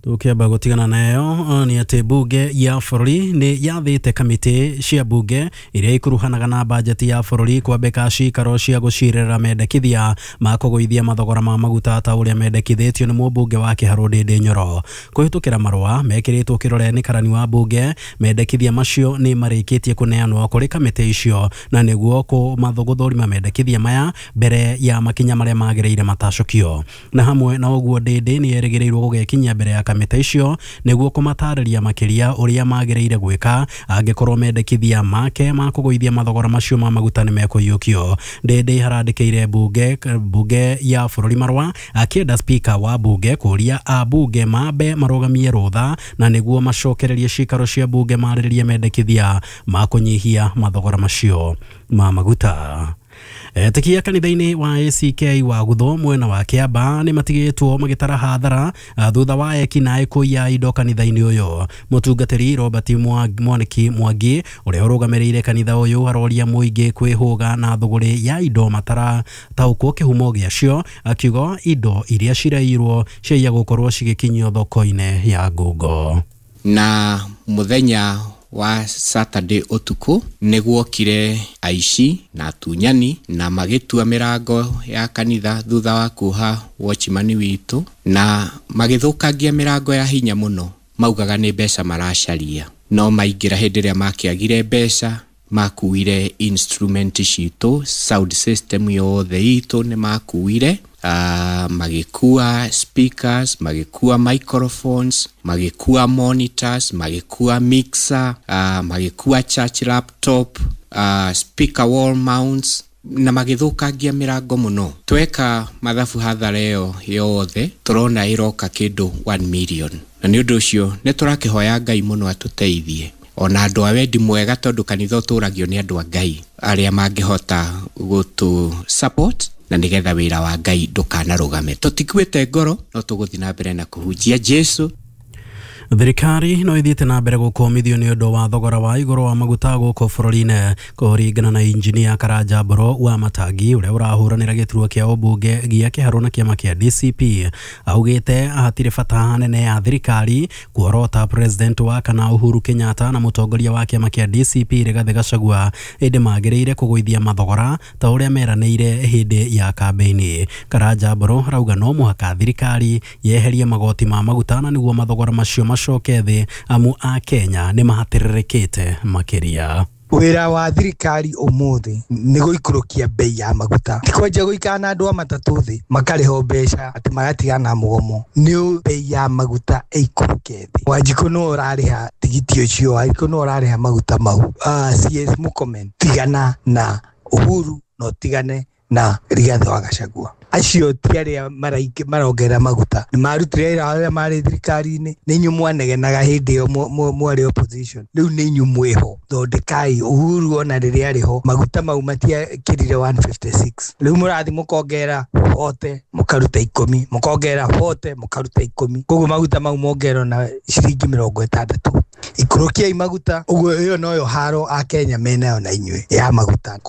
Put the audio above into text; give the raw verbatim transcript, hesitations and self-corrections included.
Tukiamba gutigana nayo ni ati bunge ya bũrũri nĩ yathĩte kamĩtĩ cia bunge iria ikuruhanaga na bajeti ya bũrũri kwambĩka cikaro cia gũcirĩra mendekithia ma kũgũithia mathogora ma maguta ta ũrĩa mendekithĩtio nĩ mũmbunge wa Kĩharũ Ndĩndĩ Nyoro. Kũhĩtũkĩra marũa mekĩrĩtwo kĩrore nĩ karani wa bunge, mendekithia macio nĩ marĩkĩtie kũneanwo kũrĩ kamĩtĩ icio na nĩguo kũmathũgũthũrima mendekithia maya mbere ya makinya marĩa magĩrĩire matacũkio. Na hamwe na ũguo Ndĩndĩ nĩ erĩgĩrĩirwo gũgekinyia mbere ya kamĩtĩ icio nĩguo kũmatarĩria makĩria ũrĩa magĩrĩire gwĩka angĩkorwo mendekithia make ma kũgũithia mathogora macio ma maguta nĩ mekũiyũkio. Ndĩndĩ harandĩkĩire bunge bunge ya bũrũri marũa akĩenda speaker wa bunge kũria ambunge mambe marũgamie rũtha na nĩguo macokererie cikaro cia bunge marĩrĩrie mendekithia ma kũnyihia mathogora macio ma maguta. Etĩkia kanitha-inĩ wa A C K wa Gutho mwena wa Kĩamba nĩ matigĩtwo magĩtara hathara thutha wa ekinaĩ kũiya indo kanitha-inĩ ũyũ. Mũtungatĩri Robert Mwaniki Mwangi ũrĩa ũrũgamĩrĩire kanitha ũyũ aroria mũingĩ kwĩhũga na thũgũrĩ ya indo matarataũkwo kĩhumo gĩacio, akiuga indo iria ciraiyirwo ciaiya gũkorwo cigĩkinyio thoko-inĩ ya ngungo. Na mũthenya wa Saturday ũtukũ nĩguokire aici na atunyani na magĩtua mĩrango ya kanitha thutha wa kuoha watchman witũ na magĩthũkangia mĩrango ya hinya mũno, maugaga nĩ mbeca maracaria, no maingĩra hĩndĩ ĩrĩa makĩagire mbeca makuire instrument citũ, sound system yothe itũ nĩ makuire. Uh, magĩkua speakers, magĩkua microphones, magĩkua monitors, magĩkua mixer, uh, magĩkua church laptop, uh, speaker wall mounts na magĩthũkangia mĩrango mũno. Tweka mathabu hathara ĩyo yothe tũrona ĩroka kĩndũ one million, na nĩ ũndũ ũcio nĩ tũrakĩhoya Ngai mũno atũteithie ona andũ a wendi mwega, tondũ kanitha ũtũragio nĩ andũ a Ngai arĩa mangĩhota gũtũ support na nĩgetha wĩra wa Ngai ndũkanarũgame. Tũtikuĩte ngoro, no tũgũthiĩ na mbere na kũhunjia Jesũ. Thirikari no ithiĩte na mbere gũkũmithio nĩ ũndũ wa thogora wa igũrũ wa maguta gũkũ bũrũri-inĩ kũringana na injinia Karanja Mboro wa Matangi ũrĩa ũrahũranĩra gĩturwa kĩa ũmbunge gĩa Kĩharũ na kĩama kĩa D C P. Augĩte hatirĩ bata nene ya thirikari kuorota president wa kana Uhuru Kenyatta na mũtongoria wa kĩama kĩa D C P Rigathĩ Gachagua ĩndĩ magĩrĩire kũgũithia mathogora ta ũrĩa meranĩire hĩndĩ ya kambĩini. Karanja Mboro arauga no mũhaka thirikari yeherie magoti ma maguta na nĩguo mathogora macio macoke thĩ amu a Kenya nĩ mahatĩrĩrĩkĩte makĩria. Wĩra wa thirikari ũmũthĩ nĩ gũikũrũkia bei ya maguta, ti kwanjia gũikara na andũ a matatũ thĩ makarĩhwo mbeca atĩ magatigana na mũgomo. Nĩ bei ya maguta ĩikũrũke thĩ. Wanjikũ nĩwe ũrarĩha tigiti ũcio, Wanjikũ nĩwe ũrarĩha maguta mau. Uh, C S Murkomen, tigana na Uhuru na ũtigane na Rigathĩ wa Gachagua. Acio ti arĩa marongerera maguta, nĩ marutire wĩra arĩa marĩ thirikari-inĩ, nĩ inyuĩ mwanegenaga hĩndĩ ĩyo mwarĩ opposition, rĩu nĩ inyuĩ mwĩho. Thondekai Uhuru ona rĩrĩa arĩ ho maguta mau matiakĩrire one fifty six, rĩu mũrathiĩ mũkongerera forty mũkaruta ikũmi, mũkongerera forty mũkaruta ikũmi, koguo maguta mau mongererwo na ciringi mĩrongo ĩtandatũ. Ikũrũkiai maguta, ũguo ĩyo noyo haro a Kenya menayo na inyuĩ ya maguta.